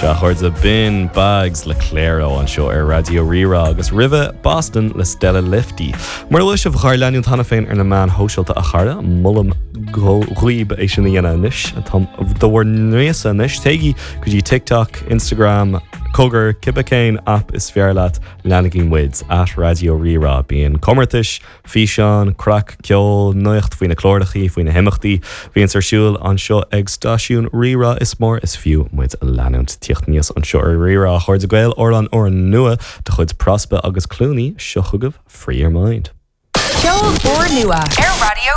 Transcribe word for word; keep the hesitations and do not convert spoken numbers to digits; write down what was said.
Sea a chairde b'in Bags le Clairo anseo ar Raidió Rí-Rá agus roimhe Boston le Stella Lifty. Mura bhfuil sibh dár leanúint cheana féin ar na meáin shóisialta a chara molaim daoibh é sin a dhéanamh anois tá do bhur n-uireasa anois téigí go dtí TikTok, Instagram, Cogar cibé cén app is fearr leat leanaigí muid at Raidió Rí-Rá bíonn comórtais, físeán, craic, ceol, nuacht faoi na cláracha faoi na himeachtaí, bhíonn ar siúl anseo ag stáisiún Rí-Rá is mór is fiú muid a leanúint tíocht níos anseo ar Rí-Rá a chairde Gael amhrán úrnua de chuid Prospa agus Clooney seo chugaibh Free Your Mind. Ceol úrnua ar Raidió